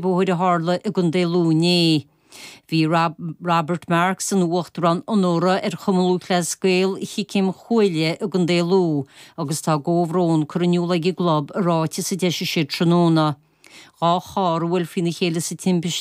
Bóthair a tharla i gContae Lú inné. Bhí Robert Marks ina Uachtarán Onóra ar Chumann Lúthchleas Gael Chic Chéim Chuaille i gContae Lú agus tá a gcomhbhrón curtha in iúl ag an gclub i ráiteas a d'eisigh siad tráthnóna. 2 charr a bhuail faoina chéile sa timpiste.